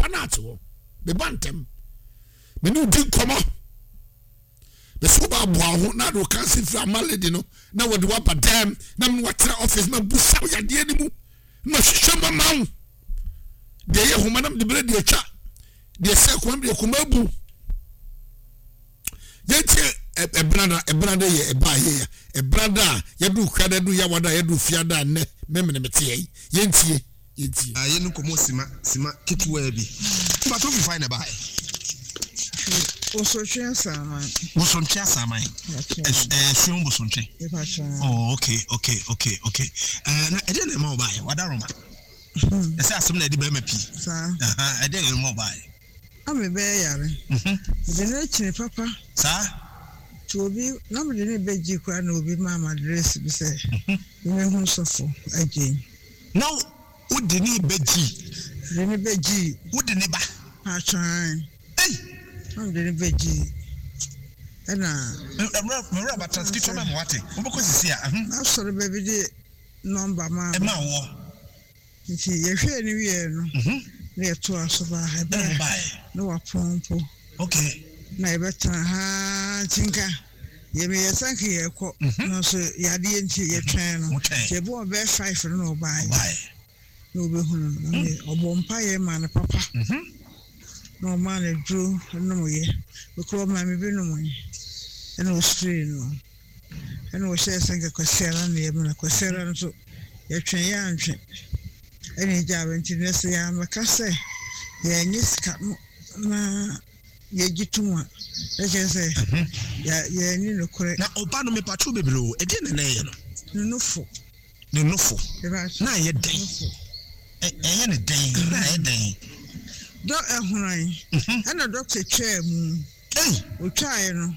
Papa no ate hɔ. Meba ntɛm. Me ne wo di nkɔmmɔ. Mese wo ba aboa wo ho na de wo kansi firi ama lady no na wɔde wo aba dɛm na me watena office ma busa wo yadeɛ no mu na mahwehwɛ mu ama wo. Deɛ ɛyɛ homa na mede berɛ deɛ atwa deɛ sɛ koma deɛ koma abu. Yɛntie ɛbenada ɛbenada yɛ ɛba a yɛyɛ ɛbenada a yɛdu kwada du yawada yɛdu fiada nnɛ memene meteɛ yi yɛntie. Yɛntie. Na yɛn nkɔmmɔ sima sima ketewaa bi. Mpakyɛ wofi fan na ɛbaeɛ? Bosontwe Asaman. Bosontwe Asaman. Ɛsuo Bosontwe. Oh, okay, okay, okay, okay. Uh, na ɛdeɛ na ɛma wo baeɛ? Wada Roma. Ɛsɛ asɛm na ɛde bɛrima pii. Saa. Ɛdeɛ na ɛma wo baeɛ? Na mebɛyɛ yare. Mede no akyini papa. Saa. Nti obi, na mede no bɛgye koraa na obi maa me address bi sɛ memmɛhu sɔfo Agyei. Na wo de ne ba gyii. De ne ba gyii. Wo de ne ba. Paatwɔ ae. Ei! Na me de ne ba gyii. Ɛna. Mewura ba trans ketewa ma me wate. Wo bɛkɔ sisi a. N'asɔre ba bi de nɔmba maa me. Ɛmaa woɔ. Nti yɛhwɛɛ no wieɛ no. Na yɛtoaa so baa ha. Ɛna mo baeɛ. Na wapɔn mpo. Okay. Na yɛbɛtena ha ara nti nka yɛ meyɛ sɛ nka yɛrekɔ nanso yadeɛ nti yɛtwɛn no. Nti ɛbɔɔ bɛyɛ five no na ɔbaeɛ. Na ɔbɛhunu no. Na ɔbɔɔ mpaeɛ maa no papa. Na ɔmaa no aduro nomeeɛ. Me koraa ɔmaa me bi nomeeɛ. Ɛna ɔspree no. Ɛna ɔhyɛɛ sɛ nka Kwasiada na yɛmmra. Kwasiada no nso yɛtwɛn yɛantwe. Ɛna egyaa bɛ nti nnɛ sɛ yɛammɛka sɛ yɛannye sika no na yɛgye tom a, na kyerɛ sɛ yɛanni nokorɛ. Na ɔba no mepakyɛw bebree o, ɛdeɛn na na ɛyɛ no? Ne nofo. Ne nofo. Na ɛyɛ dɛn? Ɛyɛ no dɛn? Na ɛyɛ dɛn? Dɔ ɛhoran. Ɛna dɔkta twaa mu. Ei! Ɔtwaeɛ no,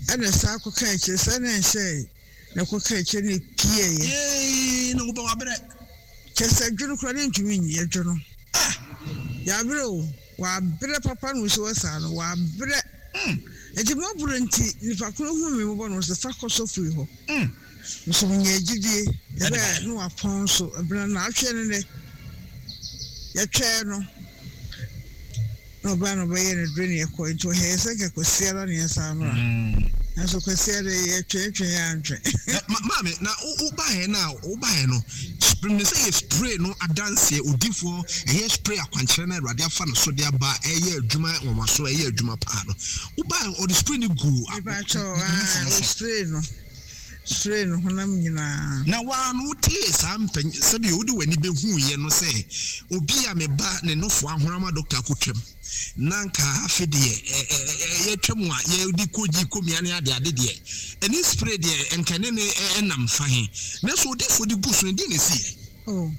ɛna saa kɔka akyire, saa na ɛnhyɛɛ. Na ɛkɔka akyire na ɛpieeɛ. Yei na wobɛ wabrɛ. Kyerɛ sɛ dwono koraa ne ntumi nyi dwono. Ah! Yabrɛ o, wabrɛ papa na osi hɔ saa no, wabrɛ. Nti mɔborɔ nti nipa koro hu me mɔbɔ no ɔse fa kɔ sɔfo yi hɔ. Nso menyaa gyidie, ɛbɛɛ na wapɔn nso, ɛbena naatweɛ ne nɛ, yɛtwɛɛ no. Na ɔbaa na ɔbɛyɛɛ no dure na yɛkɔe nti ɔhɛɛ sɛ nka Kwasiada na yɛnsan mmra nanso Kwasiada yi yɛtwentwɛn yɛ antwe. Ma maame na wo baeɛ no a wo baeɛ no menim sɛ yɛ spray no adanseɛ odifoɔ ɛyɛ spray akwankyerɛ no a Awurade afa no so de aba ɛyɛ adwuma nwanwaso ɛyɛ adwuma paa no wo baeɛ ɔde spray no guu Mepakyɛw ae no so. Ɔspray no spray no honam nyinaa. Na wo ara no wotee saa mpanyin sɛdeɛ wode w'ani bɛhuiɛ no sɛ obi a me ba ne nofo ahono ama dɔkta akɔtwam na anka afe deɛ yɛtwam a yɛde kɔgyi kɔmia ne adeade deɛ ɛne spray deɛ nka ɛne ne ɛnam fa he nanso odiyifoɔ de gu so no deɛ na ɛsiiɛ? Oh,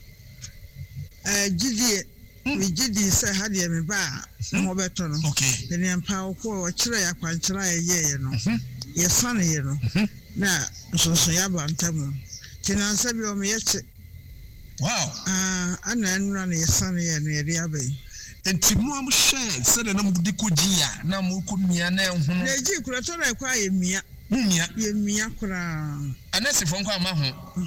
ɛɛ gyidie. Megye dii sɛ ha deɛ meba a me ho bɛtɔ no. Ɛnneɛ ampa ara ɔkɔɔ, ɔkyerɛɛ yɛn akwankyerɛ a yɛyɛeɛ no, yɛsaneeɛ no, na nsonsonoeɛ aba ntam. Nti nnansa bi ɔmeyɛ kye. Ah, ɛna nnora na yɛsaneeɛ no yɛde aba yi. Nti mo a mohwɛɛ sɛdeɛ na mode kɔgyee a na mokɔmia na ɛhono. Na ɛgyee koraa, ɛtɔ da a ɛkɔ a yɛmia. Momia? Yɛmia koraa. Anɛsefoɔ nko amma ho,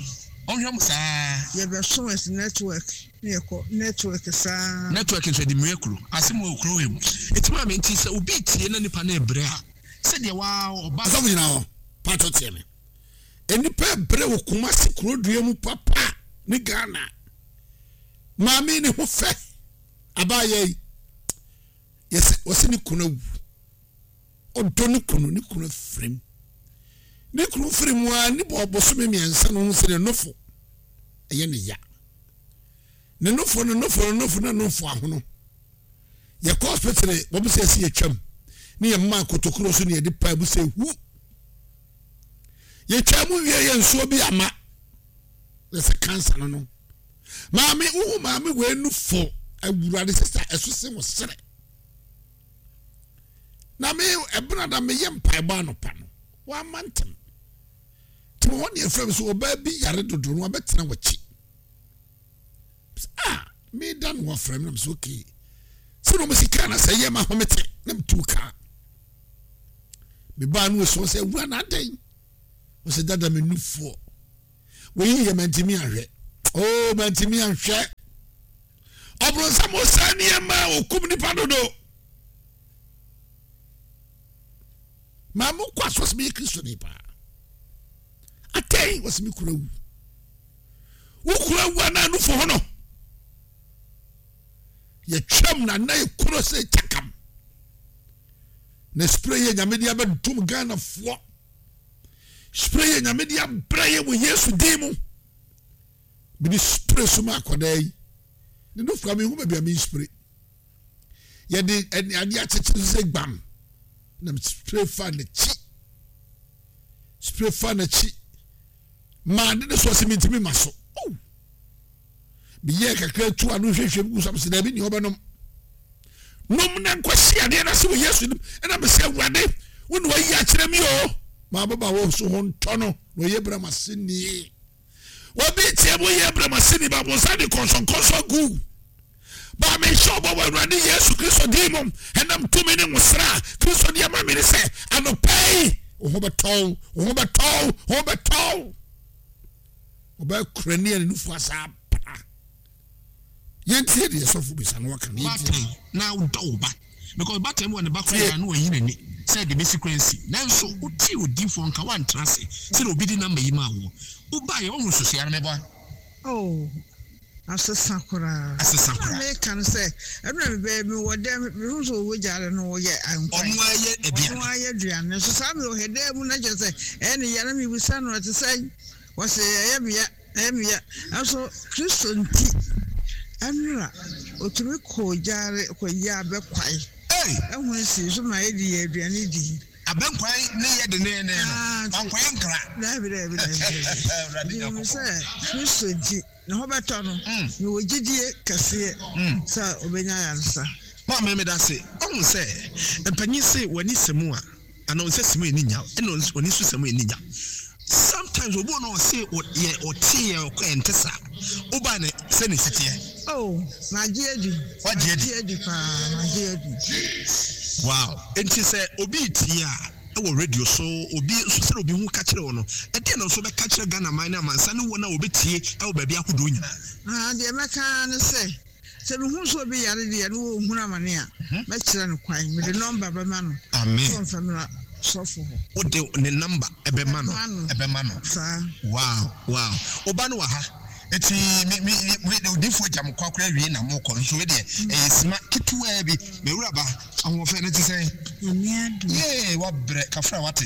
wɔnhwɛ mo saa. Yɛbɛso as network. Na yɛkɔ network saa. Network nso ɛde mua kuro. Asem wɔ kuro wei mu. Eti maame nti sɛ obi tie na nipa no ɛbrɛ a sɛdeɛ waa ɔba. Asɔfo nyina hɔ paatɔ tie me. Nnipa ɛbrɛ wɔ Kumasi kuro dua mu papa ne Ghana. Maame ne ho fɛ abaayɛ yi. Yɛsɛ wɔsɛ ne kunu awu. Ɔdɔ ne kunu ne kunu afirim. Ne kunu firi mu a ne bɔ bosome mmiɛnsa no ho sɛ ne nofo ɛyɛ ne ya. Ne nofo ne nofo ne nofo ne nofo ahono. Yɛkɔ hospital wɔn sɛ ɛsi yɛtwam ne yɛn mmaa kotokuro so ne yɛde paa mu sɛ hu. Yɛtwa mu wie yɛ nsuo bi ama na sɛ kansa no no. Maame wohu maame wei nufo awurade sisa ɛso se wɔ serɛ. Na me ɛbena da meyɛ mpaebɔ anɔpa no wama ntɛm. Nti wɔ hɔ ne ɛfrɛ me sɛ ɔbaa bi yare dodo no wabɛtena w'akyi. Ah, meda no wɔfrɛ me na mesɛ okay. Sɛ na ɔmo kaa na sɛ ɛyɛ ma home te na metu kaa. Mebaa no ɛsɔ sɛ awura na adɛn? Ɔsɛ dada me nufoɔ. Wɔyi yɛ mantimi ahwɛ. Oh, mantimi ahwɛ. Ɔbronsam ɔsɛe nneɛma a ɔkum nipa dodo. Maa mo kɔ asɔ sɛ meyɛ Kristoni paa. Atɛn wɔ sɛ me kura wu. Wo kura wu anaa nufo ho no. Yɛtwam na na yɛkuro sɛ kyakam. Na spray yɛ nyame de abɛdom Ghanafoɔ. Spray yɛ nyame de abrɛ yɛ wɔ Yesu din mu. Mede spray so ma akwadaa yi. Ne nufu a mehu baabi a me spray. Yɛde adeɛ akyekyere so sɛ gbam. Na spray fa n'akyi. Spray fa n'akyi. Maa de ne so ɔsɛ mentumi ma so. Oh. Meyɛɛ kakra tu ano hwehwɛ mu gu so sɛ daabi nea ɔbɛnom. Nom na nkɔsi adeɛ no ase wɔ Yesu nim. Ɛna mesɛ Awurade wo na wayi akyerɛ mi o. Maa bɛba wɔ so ho ntɔ no na ɔyɛ brɛ ma se nie. Obi tie mu yɛ brɛ ma se ni ba bonsa de kɔnsɔnkɔnsɔn gu. Ba mehyɛ ɔbɔ wɔ Awurade Yesu Kristo din mu ɛnam tumi ne nwosra a Kristo de ama me ne sɛ anɔpa yi wo ho bɛtɔw, wo ho bɛtɔw, wo ho bɛtɔw. Ɔbɛyɛ kurani a ne nufu asa apra. Yɛntie deɛ sɔfo bisa no waka no yɛntie. Baatan na wodɔ wo ba because baatan bi wɔ ne ba koraa na wayi n'ani sɛ deɛ bɛsi koraa nsi nanso wotee odiyifoɔ nka woantena ase sɛdeɛ obi de number yi maa woɔ wobaeɛ woahu nsusueɛ no meboa. Oh asesa koraa. Asesa koraa. Na meka no sɛ ɛno na mebɛyɛ mewɔ dɛm mehu sɛ ɔwɔ gyaade no ɔyɛ nkwan. Ɔno ara yɛ aduane. Ɔno ara yɛ aduane nso saa mewɔ hɛ dan mu na kyerɛ sɛ ɛyɛ ne ya na mebisa no ɛte sɛn ɔse ɛyɛ me ya ɛyɛ me ya nanso Kristo nti ɛnora ɔtumi kɔɔ gyaade kɔyɛ abɛkwae ɛhunu sii so ma yɛde yɛ aduane di. Abɛnkwan ne yɛ denneennen no, wankɔyɛ nkra. Daabi, daabi, daabi, daabi. Nti menim sɛ Kristo nti, ne ho bɛtɔ no. Mewɔ gyidie kɛseɛ sɛ ɔbɛnya ayaresa. Maame, meda ase. Woahu sɛ mpanyin se w'ani sɛ mu a, anaa wo nsa si mu a ani nnya wo, ɛna w'ani nso sɛ mu a ani nnya wo. Sometimes obi wɔ no ɔse yɛ ɔte yɛ ɔkɔ ɛnte saa. Wobae no sɛ na esi teɛ. Oh, magye adi. Wagye adi. Magye adi paa, magye adi. Wow. Enti sɛ obi retie a, ɛwɔ radio so, obi nso sɛdeɛ obi ho ka kyerɛ wo no, ɛdeɛn na nso wobɛka akyerɛ Ghana man ne amansan ne wɔn a wɔbɛtie ɛwɔ baabi ahodoɔ nyinaa? Ah, deɛ mɛka ara ne sɛ, Sɛ mehu sɛ obi yare deɛ na ɔrehunu amane a, mɛkyerɛ no kwan. Mede nɔmba bɛma no sɛ ɔmfa mmra sɔfo hɔ. Wode ne nɔmba bɛma no? Bɛma no. Saa. Wow, wow. Wo ba no wɔ ha. Eti me, me, me, odiyifoɔ agya mo kɔ akora awie na mokɔ. Nso wei deɛ, ɛyɛ sima ketewaa bi. M'awuraba, ahoɔfɛ no te sɛn? Nyame adom. Yee, wabrɛ. Kafra, wate?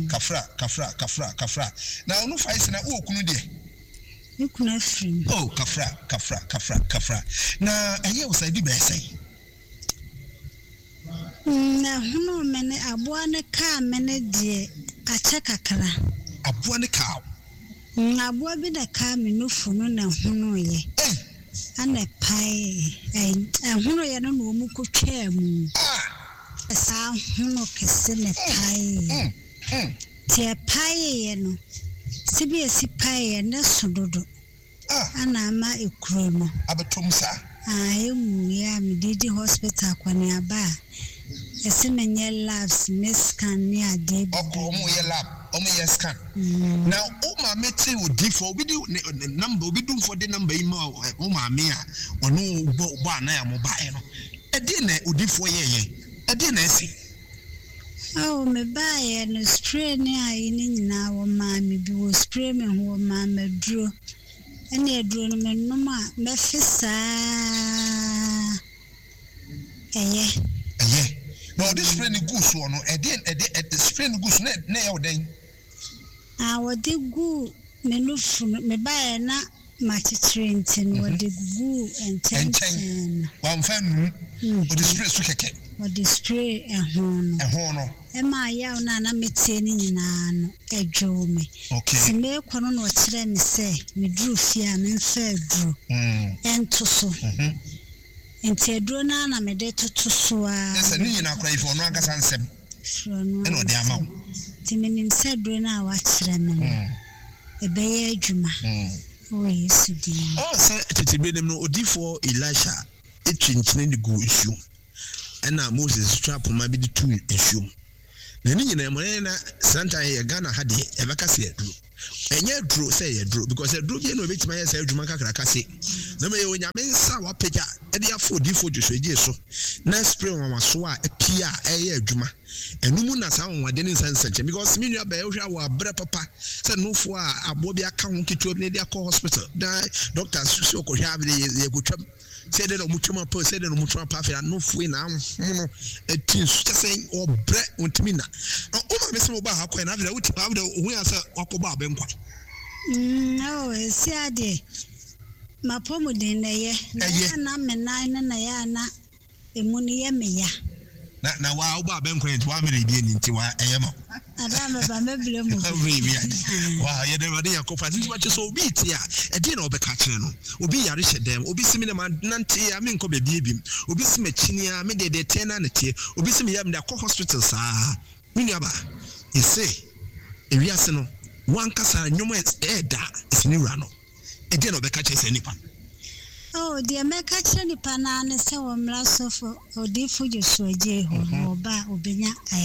Kafra, kafra, kafra, kafra. Na ɔno fa yi sɛ na wowɔ kunu deɛ? Me kunu afiri mu. Oh, kafra, kafra, kafra, kafra. Na ɛyɛɛ wo saa ebi bɛyɛ sɛn? Mm, ɛhonoo me ne aboa no kaa me ne deɛ akyɛ kakra. Aboa no kaa wo? Mm, aboa bi na ɛkaa me nufu no na ɛhonoeɛ. Ei! Ɛna ɛpaee, ɛy, ɛhonoeɛ no na wɔn kɔtwaa mu. Ah! Saa hono kɛse na ɛpaeeɛ. Mm, mm. Nti ɛpaeeɛ no, sɛbi ɛsi paeeɛ no ɛso dodo na ama ekuro no. Abɛtɔ mu saa. Aah ɛnwuiɛ a mede di hospital akɔneaba a, ɛse menyɛ labs ne scan ne adeɛ Ɔkɔ, bebree. ɔmo yɛ lab, ɔmo yɛ scan. Na wo maame te odiifoɔ, obi de ne ne number, obi dumfoɔ de number yi ma wo maame a ɔne wo bɔ bɔ anan a mo baeɛ no, ɛdeɛn na odiifoɔ yɛɛyɛ? Ɛdeɛn na asi? Oh me baeɛ no spray ne ayi no nyinaa wɔmaa me bi wɔ spray me ho wɔmaa me aduro ɛne aduro no me nom a mɛfe saa ɛyɛ. Ɛyɛ na ɔde spray no guu soɔ no ɛdeɛn ɛde ɛde spray no guu so na na ɛyɛ wo dɛn? Ah wɔde guu me nufu no me baeɛ na Makyekyere nti no, wɔde guguu nkyɛnkyɛn no. Nkyɛn, wɔamfa annu, wɔde spray so kɛkɛ. Wɔde spray ɛho no. Ɛho no. Ɛmaa yaw no a na meteɛ no nyinaa no, ɛdwoo me. Okay. Nti merekɔ no na ɔkyerɛɛ me sɛ meduru fie a memfa aduro nto so. Nti aduro no ara na mede toto so ara. Kyerɛ sɛ ne nyinaa koraa efi ɔno ankasa nsam. Firi ɔno Ɛna ɔde ama wo. Nti menim sɛ aduro no a wakyerɛ me no. Ɛbɛyɛ adwuma wɔ Yesu din mu. Ɔɔ sɛ tete bere no mu no, odiyifoɔ Elisha twi nkyene de guu nsuom, ɛna Moses nso twaa poma bi de tuu nsuom. Na ne nyinaa mu, ɛyɛ na saa ntan yɛ Ghana ha deɛ, yɛbɛka sɛ aduro. Ɛnyɛ aduro sɛ ɛyɛ aduro because aduro biara na obetumi ayɛ saa adwuma kakraka se. Na mmom ɛyɛ Onyame nsa a wapagya de afa odiyifoɔ Joshua Adjei so na spray nwanwasoɔ a apue a ɛreyɛ adwuma. Ɛno mu na saa anwanwadeɛ ne nsa nsɛnkyerɛnne because me nua bɛɛ wohwɛ a wɔ abrɛ papa sɛ nofoɔ a aboa bi aka ho ketewa bi na ɛde akɔ hospital na doctor sɛ ɔkɔhwɛ a yɛkɔtwam. Sɛ dɛn na wɔtwam apa o, sɛ dɛn na wɔtwam apa afei anofoe na ahono ati nsu kyɛ sɛ wɔbrɛ wɔntumi nna. Na wo maame sɛ wobaa ha kɔɛ na afei wotumi afei ohun ya sɛ wakɔbɔ abɛnkwa. Mm, oh, esi adeɛ mapɔmuden na ɛyɛ na ɛyɛ na me nan no na ɛyɛ na Emu no yɛ me ya. Na na wa wobɔ abɛnkwan nti wamene ebi ani nti wa ɛyɛ ma wo. Ada a mɛba mɛbrɛ mu bi. Mɛbrɛ bi ade. Wa yɛda Awurade Nyankopɔn ase. Nti wakyɛ sɛ obi te a ɛdeɛn na wɔbɛka akyerɛ no? Obi yare hyɛ dɛm. Obi se me deɛ manante a menkɔ baabi ebim. Obi se makyini a me deɛ deɛ ɛteɛ no ara na ɛteɛ. Obi se meyɛ a mede akɔ hospital saa. Me nuabaa, yɛse ewiase no wankasa nnwom a ɛɛda a ɛsɛ ne wura no. Ɛdeɛn na ɔbɛka akyerɛ saa nipa no? Oh, deɛ mɛka akyerɛ nipa no ara ne sɛ wɔmmra sɔfo odiyifo Joshua Gyei hɔ, na ɔba a ɔbɛnya ayaresa.